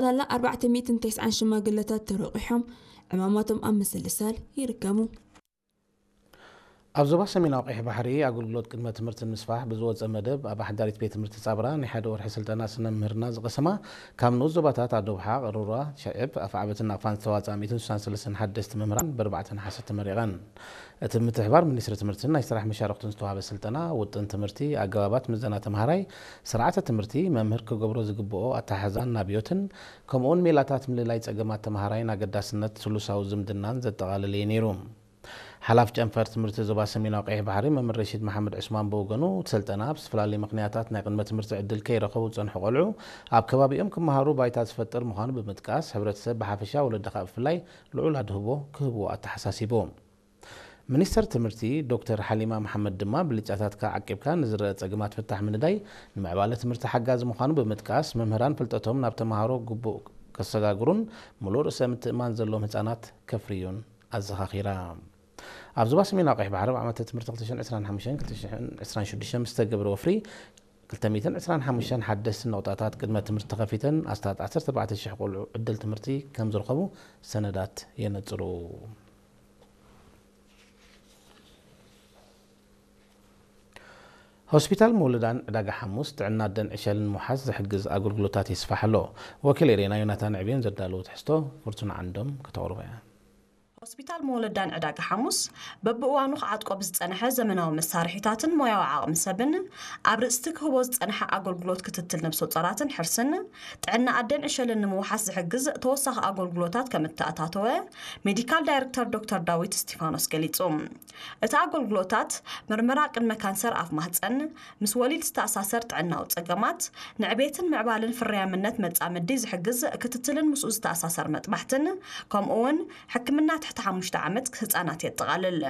ጠቕላላ ኣርባዕተ ሚእትን ተስዓን ሽማግለታት ተረቂሖም ዕማማቶም ኣብ ምስልሳል ይርከቡ። ኣብ ዞባ ሰሜናዊ ቀይሕ ባሕሪ ኣገልግሎት ቅድመ ትምህርቲ ንምስፋሕ ብዝወፀ መደብ ኣብ ሓዳሪት ቤት ትምህርቲ ጻብራ ናይ ሓደ ወርሒ ስልጠና ስነ ምህርና ዝቐሰማ ካብ ንኡስ ዞባታት ኣዶብሓ፣ ቅሩራ፣ ሸዕብ፣ ኣፍዓበትን ናቕፋን ዝተዋፅኣ ሚእትን ስሳን ሰለስተን ሓደስቲ መምህራን ብኣርባዕተ ነሓሰ ተመሪቐን። እቲ ምትሕባር ሚኒስትሪ ትምህርትን ናይ ስራሕ መሻርኽቱን ዝተዋህበ ስልጠና ውጥን ትምህርቲ፣ ኣገባባት ምዘና ተምሃራይ፣ ስርዓተ ትምህርቲ፣ መምህር ክገብሮ ዝግብኦ ኣተሓሕዛን ናብዮትን ከምኡውን ሜላታት ምልላይ ጸገማት ተምሃራይን ኣገዳስነት ስሉሳዊ ዝምድናን ዘጠቓለለ እዩ ነይሩ። ሓላፍ ጨንፈር ትምህርቲ ዞባ ሰሜናዊ ቀይሕ ባሕሪ መምህር ረሺድ መሓመድ ዑስማን ብወገኑ፣ እቲ ስልጠና ብዝተፈላለዩ ምኽንያታት ናይ ቅድመ ትምህርቲ ዕድል ከይረኸቡ ዝጸንሑ ቆልዑ ኣብ ከባቢኦም ክመሃሩ ባይታ ዝፈጥር ምዃኑ ብምጥቃስ፣ ሕብረተሰብ ብሓፈሻ ወለዲ ከኣ ብፍላይ ልዑል ኣድህቦ ክህብዎ ኣተሓሳሲቡ። ሚኒስተር ትምህርቲ ዶክተር ሓሊማ መሓመድ ድማ፣ ብልጫታትካ ዓቂብካ ንዝረአ ጸገማት ፍታሕ ምንዳይ ንምዕባለ ትምህርቲ ሓጋዚ ምዃኑ ብምጥቃስ፣ መምህራን ፍልጠቶም ናብ ተምሃሮ ግቡእ ከሰጋግሩን ምሉእ ርእሰ ምትእማን ዘለዎም ህጻናት ከፍርዩን ኣዘኻኺራ። ኣብ ዞባ ሰሜናዊ ቀይሕ ባሕሪ ኣብ ዓመተ ትምህርቲ ክልተ ሽሕን ዕስራን ሓሙሽተን ክልተ ሽሕን ዕስራን ሽዱሽተን ምስ ተገብረ ወፍሪ ክልተ ሚእትን ዕስራን ሓሙሽተን ሓደስቲ ነቑጣታት ቅድመ ትምህርቲ ተኸፊተን ኣስታት ዓሰርተ ኣርባዕተ ሽሕ ቆልዑ ዕድል ትምህርቲ ከም ዝረኸቡ ሰነዳት የነጽሩ። ሆስፒታል መውለዳን ዕዳጋ ሓሙስ ጥዕና ኣደን ዕሸልን ምውሓስ ዝሕግዝ ኣገልግሎታት የስፋሕ ኣሎ። ወኪል ኤሬና ዮናታን ዕብዮን ዘዳለዎ ትሕዝቶ ፍርቱና ዓንዶም ከተቕርቦ እያ። ሆስፒታል መውለዳን ዕዳጋ ሓሙስ በብእዋኑ ክዓጥቆ ብዝጸንሐ ዘመናዊ መሳርሒታትን ሞያዊ ዓቕሚ ሰብን ኣብ ርእስቲ ክህቦ ዝጸንሐ ኣገልግሎት ክትትል ነብሰ ጾራትን ሕርስን ጥዕና ኣደን ዕሸልን ንምውሓስ ዝሕግዝ ተወሳኺ ኣገልግሎታት ከም እተኣታተወ ሜዲካል ዳይሬክተር ዶክተር ዳዊት እስቲፋኖስ ገሊጹ። እቲ ኣገልግሎታት ምርመራ ቅድመ ካንሰር ኣፍ ማህጸን፣ ምስ ወሊድ ዝተኣሳሰር ጥዕናዊ ጸገማት፣ ንዕቤትን ምዕባልን ፍርያምነት መጻምዲ ዝሕግዝ ክትትልን ምስኡ ዝተኣሳሰር መጥባሕትን፣ ከምኡ እውን ሕክምና ትሕቲ ሓሙሽተ ዓመት ህጻናት የጠቓልል።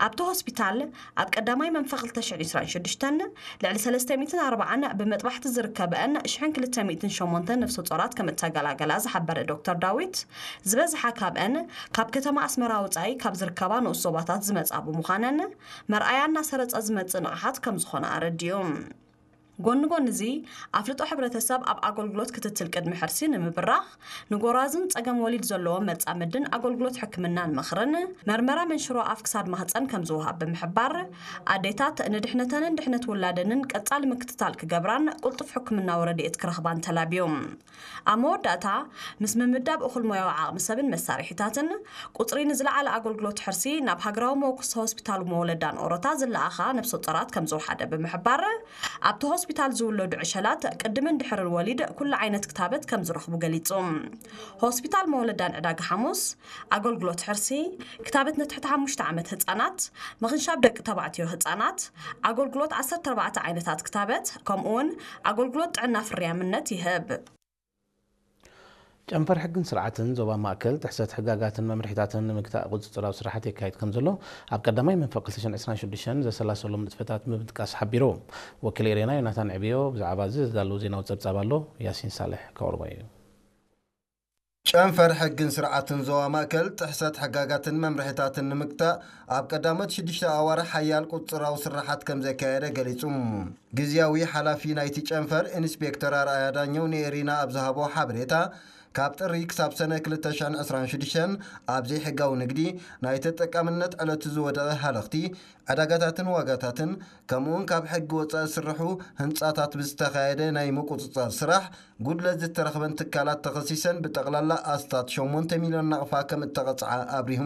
ኣብቲ ሆስፒታል ኣብ ቀዳማይ መንፈ ክልተ ሽሕን ዕስራን ሽዱሽተን ልዕሊ ሰለስተ ሚእትን ኣርባዓን ብመጥባሕቲ ዝርከበአን ሽሕን ክልተ ሚእትን ሸሞንተን ነፍሰ ጾራት ከም እተገላገላ ዝሓበረ ዶክተር ዳዊት፣ ዝበዝሓ ካብአን ካብ ከተማ ኣስመራ ወጻኢ ካብ ዝርከባ ንኡስ ዞባታት ዝመጻ ብምዃነን፣ መርኣያ እናሰረጸ ዝመጽእ ንቕሓት ከም ዝኾነ ኣረዲኡ። ጎኒ ጎኒ እዚ፣ ኣፍልጦ ሕብረተሰብ ኣብ ኣገልግሎት ክትትል ቅድሚ ሕርሲ ንምብራኽ፣ ንጎራዙን ጸገም ወሊድ ዘለዎም መጻምድን ኣገልግሎት ሕክምናን ምኽርን፣ መርመራ መንሽሮ ኣፍ ክሳድ ማህጸን ከም ዝወሃብ ብምሕባር፣ ኣዴታት ንድሕነተንን ድሕነት ውላደንን ቀጻሊ ምክትታል ክገብራን ቅልጡፍ ሕክምናዊ ረድኤት ክረኽባን ተላብዮም። ኣብ መወዳእታ፣ ምስ ምምዳብ እኹል ሞያዊ ዓቕሚ ሰብን መሳርሒታትን፣ ቁጽሪ ንዝለዓለ ኣገልግሎት ሕርሲ ናብ ሃገራዊ መወከሲ ሆስፒታል መወለዳን ኦሮታ ዝለኣኻ ነብሰ ጾራት ከም ዝወሓደ ብምሕባር፣ ኣብቲ ሆስፒታል ዝውለዱ ዕሸላት ቅድምን ድሕርን ወሊድ ኩሉ ዓይነት ክታበት ከም ዝረኽቡ ገሊጹ። ሆስፒታል መወለዳን ዕዳጋ ሓሙስ ኣገልግሎት ሕርሲ፣ ክታበት ንትሕቲ ሓሙሽተ ዓመት ህጻናት፣ ምኽንሻብ ደቂ ተባዕትዮ ህጻናት፣ ኣገልግሎት ዓሰርተ ኣርባዕተ ዓይነታት ክታበት፣ ከምኡውን ኣገልግሎት ጥዕና ፍርያምነት ይህብ። ጨንፈር ሕግን ስርዓትን ዞባ ማእከል ጥሕሰት ሕጋጋትን መምርሒታትን ንምግታእ ቁጽጽራዊ ስራሓት የካይድ ከም ዘሎ ኣብ ቀዳማይ መንፈቅ ክልተ ሽሕን ዕስራን ሽዱሽተን ዘሰላሰሎም ንጥፈታት ብምጥቃስ ሓቢሩ። ወኪል ኤሬና ዮናታን ዕብዮ ብዛዕባ እዚ ዘዳለዎ ዜናዊ ጸብጻብ ኣሎ፣ ያሲን ሳልሕ ከቕርቦ እዩ። ጨንፈር ሕግን ስርዓትን ዞባ ማእከል ጥሕሰት ሕጋጋትን መምርሒታትን ንምግታእ ኣብ ቀዳሞት ሽዱሽተ ኣዋርሕ ሓያል ቁጽጽራዊ ስራሓት ከም ዘካየደ ገሊጹ። ግዝያዊ ሓላፊ ናይቲ ጨንፈር ኢንስፔክተር ኣርኣያ ዳኘው ንኤሪና ኣብ ዝሃቦ ሓበሬታ፣ ካብ ጥሪ ክሳብ ሰነ ክልተ ሽሕን ዕስራን ሽዱሽተን ኣብ ዘይሕጋዊ ንግዲ፣ ናይ ተጠቃምነት ዕለቱ ዝወደቐ ሃለኽቲ፣ ዕዳጋታትን ዋጋታትን፣ ከምኡውን ካብ ሕጊ ወጻኢ ዝስርሑ ህንጻታት ብዝተኻየደ ናይ ምቁጽጻር ስራሕ፣ ጉድለት ዝተረኽበን ትካላት ተኸሲሰን ብጠቕላላ ኣስታት ሸሞንተ ሚልዮን ናቕፋ ከም እተቐጽዓ ኣብሪሁ።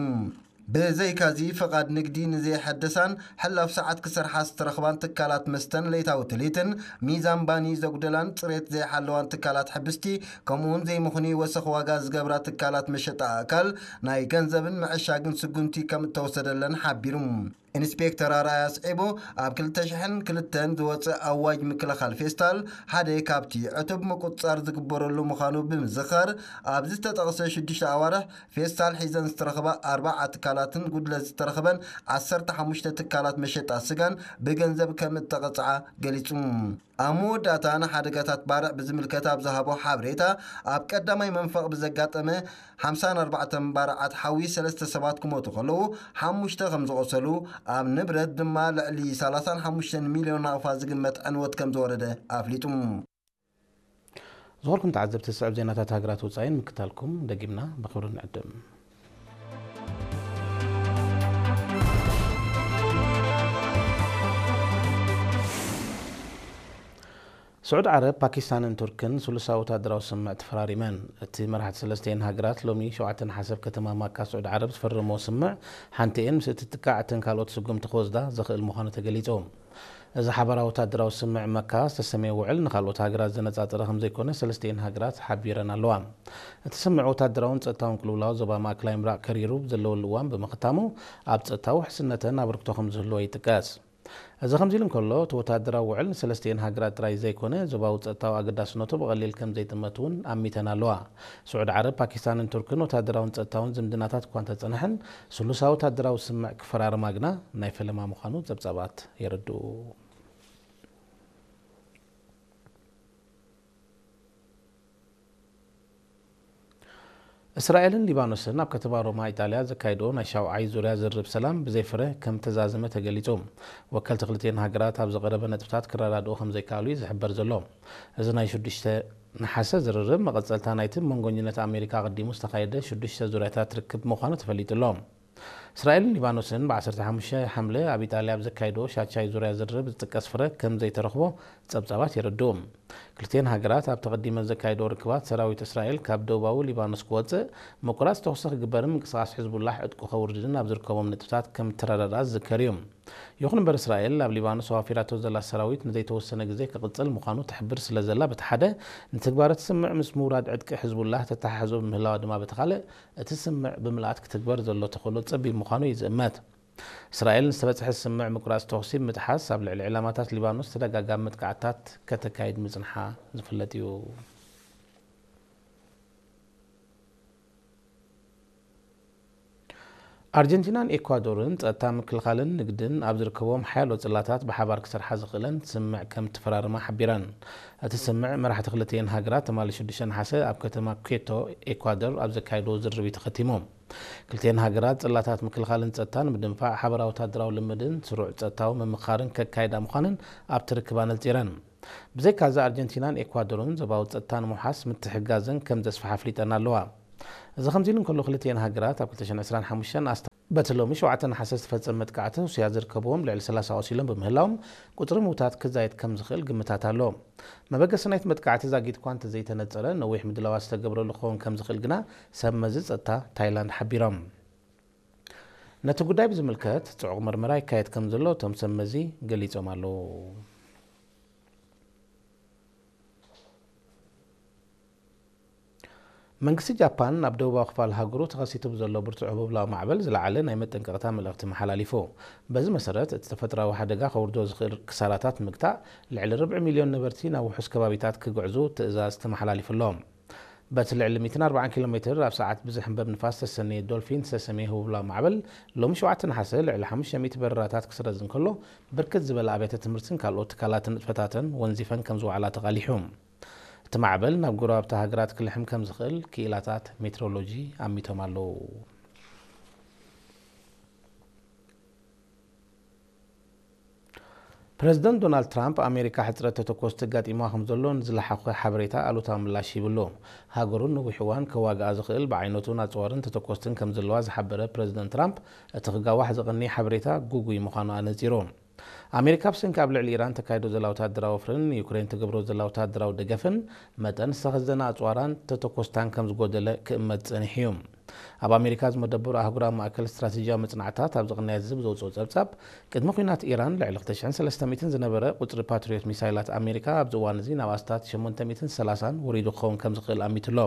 ብዘይካዚ፣ ፍቓድ ንግዲ ንዘይሐደሳን ሕላፍ ሰዓት ክሰርሓ ዝተረኽባን ትካላት መስተን ለይታዊ ትልሂትን ሚዛን ባኒ ዘጉደላን ጽሬት ዘይሓለዋን ትካላት ሕብስቲ፣ ከምኡውን ዘይምኽኑይ ወሰኽ ዋጋ ዝገብራ ትካላት መሸጣ ኣእካል ናይ ገንዘብን ምዕሻግን ስጉምቲ ከም እተወሰደለን ሓቢሩ። ኢንስፔክተር ኣርኣያ ኣስዒቡ፣ ኣብ ክልተ ሽሕን ክልተን ዝወጸ ኣዋጅ ምክልኻል ፌስታል ሓደ ካብቲ ዕቱብ ምቁጽጻር ዝግበረሉ ምዃኑ ብምዝኻር፣ ኣብ ዝተጠቕሰ ሽዱሽተ ኣዋርሕ ፌስታል ሒዘን ዝተረኽባ ኣርባዓ ትካላትን ጉድለት ዝተረኽበን ዓሰርተ ሓሙሽተ ትካላት መሸጣ ስጋን ብገንዘብ ከም እተቐጽዓ ገሊጹ። ኣብ መወዳእታ ንሓደጋታት ባርዕ ብዝምልከት ኣብ ዝሃቦ ሓበሬታ፣ ኣብ ቀዳማይ መንፈቕ ብዘጋጠመ ሓምሳን ኣርባዕተን ባርዓት ሓዊ ሰለስተ ሰባት ክሞቱ ከለዉ፣ ሓሙሽተ ከም ዝቖሰሉ፣ ኣብ ንብረት ድማ ልዕሊ ሰላሳን ሓሙሽተን ሚልዮን ናቕፋ ዝግመት ዕንወት ከም ዝወረደ ኣፍሊጡ። ዝኾርኩም ተዓዘብቲ፣ ዝስዕብ ዜናታት ሃገራት ወጻኢን ምክታልኩም ደጊምና ብኽብሪ ንዕድም። ስዑድ ዓረብ፣ ፓኪስታንን ቱርክን ስሉሳዊ ወታደራዊ ስምምዕ ተፈራሪመን። እቲ መራሕቲ ሰለስቲኤን ሃገራት ሎሚ ሸውዓተ ነሓሰ ኣብ ከተማ ማካ ስዑድ ዓረብ ዝፈረምዎ ስምምዕ፣ ሓንቲኤን ምስ እትጥቃዕ እተን ካልኦት ስጉምቲ ክወስዳ ዘኽእል ምዃኑ ተገሊጹ። እዚ ሓባራዊ ወታደራዊ ስምምዕ መካ ዝተሰመየ ውዕል ንኻልኦት ሃገራት ዘነጻጸረ ከም ዘይኮነ ሰለስቲኤን ሃገራት ሓቢረን ኣለዋ። እቲ ስምምዕ ወታደራውን ጸጥታውን ቅልውላው ዞባ ማእከላይ ምብራቕ ከሪሩ ብዘለወሉ እዋን ብምኽታሙ፣ ኣብ ጸጥታዊ ውሕስነተን ኣበርክቶ ከም ዝህልዎ ይጥቀስ። እዚ ከምዚ ኢሉ እንከሎ፣ እቲ ወታደራዊ ውዕል ንሰለስቲኤን ሃገራት ጥራይ ዘይኮነ፣ ዞባዊ ጸጥታዊ ኣገዳስነቱ ብቐሊል ከም ዘይጥመት እውን ኣሚተን ኣለዋ። ስዑድ ዓረብ፣ ፓኪስታንን ቱርክን ወታደራውን ጸጥታውን ዝምድናታት እኳ እንተጸንሐን፣ ስሉሳዊ ወታደራዊ ስምምዕ ክፈራርማ ግና ናይ ፈለማ ምዃኑ ጸብጻባት የረድኡ። እስራኤልን ሊባኖስን ኣብ ከተማ ሮማ ኢጣልያ ዘካየድኦ ናይ ሻውዓይ ዙርያ ዝርርብ ሰላም ብዘይፍረ ከም ተዛዘመ ተገሊጹ። ወከልቲ ክልቲኤን ሃገራት ኣብ ዝቐረበ ነጥብታት ክረዳድኡ ከም ዘይከኣሉ እዩ ዝሕበር ዘሎ። እዚ ናይ ሽዱሽተ ነሓሰ ዝርርብ መቐጸልታ ናይቲ መንጎኝነት ኣሜሪካ ኣቐዲሙ ዝተኻየደ ሽዱሽተ ዙርያታት ርክብ ምዃኑ ተፈሊጡ ኣሎ። እስራኤልን ሊባኖስን ብ ዓሰርተ ሓሙሽተ ሓምለ ኣብ ኢጣልያ ኣብ ዘካየድኦ ሻቻይ ዙርያ ዝርርብ ዝጥቀስ ፍረ ከም ዘይተረኽቦ ጸብጻባት የረድኡ። ክልቲኤን ሃገራት ኣብ ተቐዲመን ዘካየድኦ ርክባት ሰራዊት እስራኤል ካብ ደቡባዊ ሊባኖስ ክወጽእ፣ ምቁራጽ ተኹሲ ክግበርን ምንቅስቓስ ሕዝቡላህ ዕጥቁ ከውርድን ኣብ ዝርከቦም ነጥብታት ከም እተረዳድኣ ዝዝከር እዩ። ይኹን እምበር እስራኤል ኣብ ሊባኖስ ኣዋፊራቶ ዘላ ሰራዊት ንዘይተወሰነ ግዜ ክቕጽል ምዃኑ ትሕብር ስለ ዘላ በቲ ሓደ፣ ንትግባረ እቲ ስምምዕ ምስ ምውራድ ዕጥቂ ሕዝቡላህ ተተሓሕዞ ብምህላዋ ድማ በቲ ካልእ፣ እቲ ስምምዕ ብምልኣት ክትግበር ዘሎ ተኽእሎ ጸቢብ ምዃኑ እዩ ዝእመት። እስራኤል ንዝተበጽሐ ስምምዕ ምቁራጽ ተኹሲ ብምጥሓስ ኣብ ልዕሊ ዕላማታት ሊባኖስ ተደጋጋሚ መጥቃዕትታት ከተካይድ ምጽንሓ ዝፍለጥ እዩ። ኣርጀንቲናን ኤኳዶርን ጸጥታ ምክልኻልን ንግድን ኣብ ዝርከቦም ሓያሎ ጽላታት ብሓባር ክሰርሓ ዝኽእለን ስምምዕ ከም እተፈራረማ ሓቢረን። እቲ ስምምዕ መራሕቲ ክልቲኤን ሃገራት ትማሊ ሽዱሽተ ነሓሰ ኣብ ከተማ ኬቶ ኤኳዶር ኣብ ዘካየድዎ ዝርርብ እዩ ተኸቲሙ። ክልቲኤን ሃገራት ጽላታት ምክልኻልን ጸጥታን ብምድንፋዕ ሓበራዊ ወታደራዊ ልምድን ስሩዕ ጸጥታዊ ምምኽኻርን ከካይዳ ምዃነን ኣብቲ ርክብ ኣነጺረን። ብዘይካዚ ኣርጀንቲናን ኤኳዶርን ዞባዊ ጸጥታ ንምውሓስ ምትሕግጋዘን ከም ዘስፍሓ ኣፍሊጠን ኣለዋ። እዚ ከምዚ ኢሉ እንከሎ፣ ክልቲኤን ሃገራት ኣብ ክልተ ሽሕን ዕስራን ሓሙሽተን ኣስታ በቲ ሎሚ ሸውዓተ ነሓሰ ዝተፈጸመ መጥቃዕቲ ሩስያ ዝርከብዎም ልዕሊ ሰላሳ ቆሲሎም ብምህላዎም፣ ቁጽሪ ምውታት ክዛየድ ከም ዝኽእል ግምታት ኣሎ። መበገሲ ናይቲ መጥቃዕቲ ዛጊት እኳ እንተዘይተነጸረ፣ ነዊሕ ምድላዋት ዝተገብረሉ ክኸውን ከም ዝኽእል ግና ሰብ መዚ ጸጥታ ታይላንድ ሓቢሮም። ነቲ ጉዳይ ብዝምልከት ጽዑቕ መርመራ ይካየድ ከም ዘሎ እቶም ሰብ መዚ ገሊጾም ኣለዉ። መንግስቲ ጃፓን ኣብ ደቡባዊ ክፋል ሃገሩ ተኸሲቱ ብዘሎ ብርቱዕ ህቦብላዊ ማዕበል ዝለዓለ ናይ መጠንቀቕታ መልእኽቲ መሓላሊፉ። በዚ መሰረት፣ እቲ ተፈጥሮኣዊ ሓደጋ ከውርዶ ዝኽእል ክሳራታት ንምግታእ፣ ልዕሊ ርብዒ ሚልዮን ነበርቲ ናብ ውሑስ ከባቢታት ክግዕዙ ትእዛዝ ተመሓላሊፉሎም። በቲ ልዕሊ ሚእትን ኣርባዓን ኪሎ ሜትር ኣብ ሰዓት ብዝሕንበብ ንፋስ ዝተሰነየ ዶልፊን ዝተሰመየ ህቦብላዊ ማዕበል፣ ሎሚ ሸውዓተ ነሓሰ ልዕሊ ሓሙሽተ ሚእቲ በረራታት ክስረዝ እንከሎ፣ ብርክት ዝበለ ኣብያተ ትምህርትን ካልኦት ትካላትን ንጥፈታተን ወንዚፈን ከም ዝወዓላ ተቓሊሑ። እቲ ማዕበል ናብ ጎረባብቲ ሃገራት ክልሕም ከም ዝኽእል ክኢላታት ሜትሮሎጂ ኣሚቶም ኣለዉ። ፕረዚደንት ዶናልድ ትራምፕ፣ ኣሜሪካ ሕጽረት ተተኮስቲ ኣጋጢማ ከም ዘሎ ንዝለሓኾ ሓበሬታ ኣሉታዊ ምላሽ ሂብሉ። ሃገሩ ነዊሕ እዋን ከዋግኣ ዝኽእል ብዓይነቱን ኣጽዋርን ተተኮስትን ከም ዘለዋ ዝሓበረ ፕረዚደንት ትራምፕ፣ እቲ ክጋዋሕ ዝቐንየ ሓበሬታ ግጉይ ምዃኑ ኣነጺሩ። ኣሜሪካ ብሰንኪ ኣብ ልዕሊ ኢራን ተካይዶ ዘላ ወታደራዊ ወፍርን ዩክሬን ትገብሮ ዘላ ወታደራዊ ደገፍን መጠን ዝተኸዘነ ኣጽዋራን ተተኮስታን ከም ዝጎደለ ክእመት ጸኒሑ እዩ። ኣብ ኣሜሪካ ዝመደበሩ ኣህጉራዊ ማእከል ስትራቴጂያዊ መጽናዕትታት ኣብ ዝቕነየ ዝብ ዘውፅኦ ጸብጻብ፣ ቅድሚ ኲናት ኢራን ልዕሊ ክልተ ሽሕን ሰለስተ ሚእትን ዝነበረ ቁጽሪ ፓትሪዮት ሚሳይላት ኣሜሪካ ኣብዚ እዋን እዚ ናብ ኣስታት ሸሞንተ ሚእትን ሰላሳን ወሪዱ ክኸውን ከም ዝኽእል ኣሚቱ ኣሎ።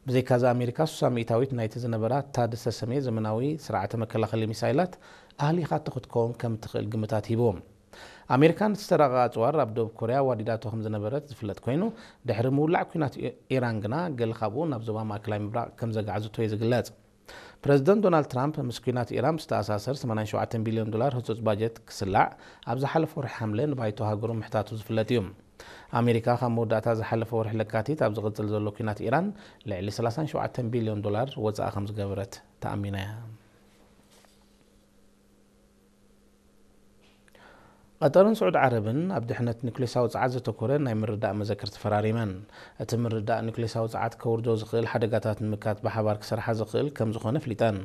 ብዘይካዚ ኣሜሪካ ሱሳ ሚእታዊት ናይቲ ዝነበራ ታድ ዝተሰመየ ዘመናዊ ስርዓተ መከላኸሊ ሚሳይላት ኣህሊኻቶ ክትከውን ከም እትኽእል ግምታት ሂቡ። ኣሜሪካ ነቲ ዝተራቐቐ ኣጽዋር ኣብ ደቡብ ኮርያ ዋዲዳቶ ከም ዝነበረት ዝፍለጥ ኮይኑ፣ ድሕሪ ምውላዕ ኲናት ኢ-፣ ኢራን ግና፣ ገለ ካብኡ ናብ ዞባ ማእከላይ ምብራቕ ከም ዘጋዕዝቶ እዩ ዝግለጽ። ፕረዚደንት ዶናልድ ትራምፕ ምስ ኲናት ኢራን ብዝተኣሳሰር ሰማንያን ሸውዓተን ቢልዮን ዶላር ህጹጽ ባጀት ክስላዕ ኣብ ዝሓለፈ ወርሒ ሓምለ ንባይቶ ሃገሩ ምሕታቱ ዝፍለጥ እዩ። ኣሜሪካ ካብ መወዳእታ ዝሓለፈ ወርሒ ለካቲት ኣብ ዝቕጽል ዘሎ ኲናት ኢራን ልዕሊ ሰላሳን ሸውዓተን ቢልዮን ዶላር ወጻኢ ከም ዝገበረት ተኣሚና እያ። ቀጠርን ስዑድ ዓረብን ኣብ ድሕነት ኒኩሌሳዊ ጸዓት ዘተኮረ ናይ ምርዳእ መዘክር ተፈራሪመን። እቲ ምርዳእ ኒኩሌሳዊ ጸዓት ከውርዶ ዝኽእል ሓደጋታት ንምካት ብሓባር ክሰርሓ ዝኽእል ከም ዝኾነ ፍሊጠን።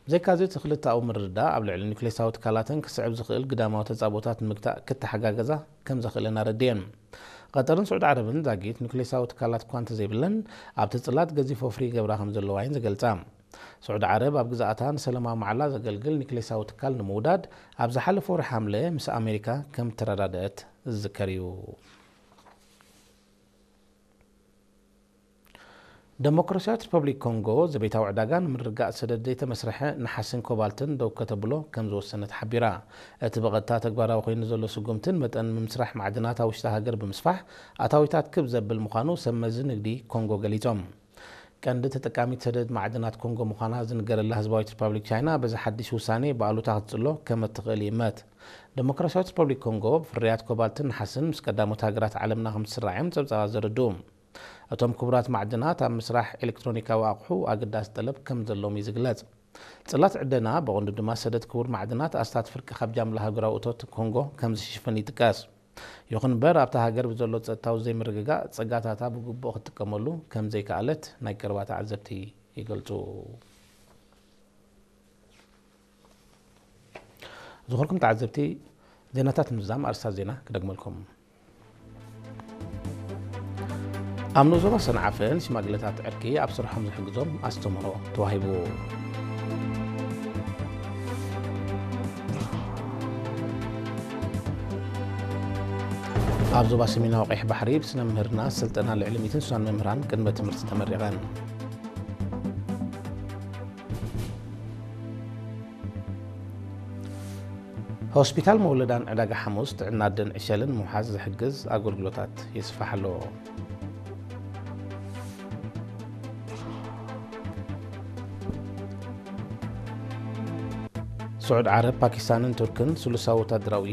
ብዘይካዚ እቲ ክልተኣዊ ምርዳእ ኣብ ልዕሊ ኒኩሌሳዊ ትካላተን ክስዕብ ዝኽእል ግዳማዊ ተጻብኦታት ንምግታእ ክተሓጋገዛ ከም ዘኽእለን ኣረድየን። ቀጠርን ስዑድ ዓረብን ዛጊት ኒኩሌሳዊ ትካላት እኳ እንተዘይብለን ኣብቲ ጽላት ገዚፍ ወፍሪ ይገብራ ከም ዘለዋ እየን ዝገልጻ። ስዑድ ዓረብ ኣብ ግዛኣታ ንሰላማዊ ማዕላ ዘገልግል ኒክሌሳዊ ትካል ንምውዳድ ኣብ ዝሓለፈ ወርሒ ሓምለ ምስ ኣሜሪካ ከም ተረዳደአት ዝዝከር እዩ። ደሞክራሲያዊት ሪፐብሊክ ኮንጎ ዘቤታዊ ዕዳጋ ንምርግጋእ ሰደድ ዘይተመስረሐ ነሓስን ኮባልትን ደው ከተብሎ ከም ዝወሰነት ሓቢራ። እቲ ብቐጥታ ተግባራዊ ኮይኑ ዘሎ ስጉምትን መጠን ምምስራሕ ማዕድናት ኣብ ውሽጢ ሃገር ብምስፋሕ ኣታዊታት ክብ ዘብል ምዃኑ ሰብ መዚ ንግዲ ኮንጎ ገሊጾም። ቀንዲ ተጠቃሚት ሰደድ ማዕድናት ኮንጎ ምዃና ዝንገረላ ህዝባዊት ሪፓብሊክ ቻይና በዚ ሓድሽ ውሳኔ ብኣሉታ ክትጽሎ ከም እትኽእል ይእመት። ደሞክራሲያዊት ሪፓብሊክ ኮንጎ ብፍርያት ኮባልትን ነሓስን ምስ ቀዳሞት ሃገራት ዓለምና ከም ትስራዕ እዮም ጸብጻባት ዘረድኡ። እቶም ክቡራት ማዕድናት ኣብ ምስራሕ ኤሌክትሮኒካዊ ኣቑሑ ኣገዳሲ ጠለብ ከም ዘሎም እዩ ዝግለጽ። ጽላት ዕደና ብቐንዱ ድማ ሰደድ ክቡር ማዕድናት ኣስታት ፍርቂ ካብ ጃምላ ሃገራዊ እቶት ኮንጎ ከም ዝሽፍን ይጥቀስ። ይኹን እምበር ኣብታ ሃገር ብዘሎ ጸጥታዊ ዘይምርግጋእ ጸጋታታ ብግቡእ ክትጥቀመሉ ከም ዘይከኣለት ናይ ቀረባ ተዓዘብቲ ይገልጹ። ዝኸበርኩም ተዓዘብቲ፣ ዜናታት ምዝዛም ኣርእስታት ዜና ክደግመልኩም። ኣብ ንኡስ ዞባ ሰንዓፈ ንሽማግለታት ዕርቂ ኣብ ስርሖም ዝሕግዞም ኣስተምህሮ ተዋሂቡ። ኣብ ዞባ ሰሜናዊ ቀይሕ ባሕሪ ብስነ ምህርና ስልጠና ልዕሊ ሚእትን ስሳን መምህራን ቅድመ ትምህርቲ ተመሪቐን። ሆስፒታል መውለዳን ዕዳጋ ሓሙስ ጥዕና ኣደን ዕሸልን ምውሓዝ ዝሕግዝ ኣገልግሎታት የስፍሕ ኣሎ። ስዑድ ዓረብ፣ ፓኪስታንን ቱርክን ስሉሳዊ ወታደራዊ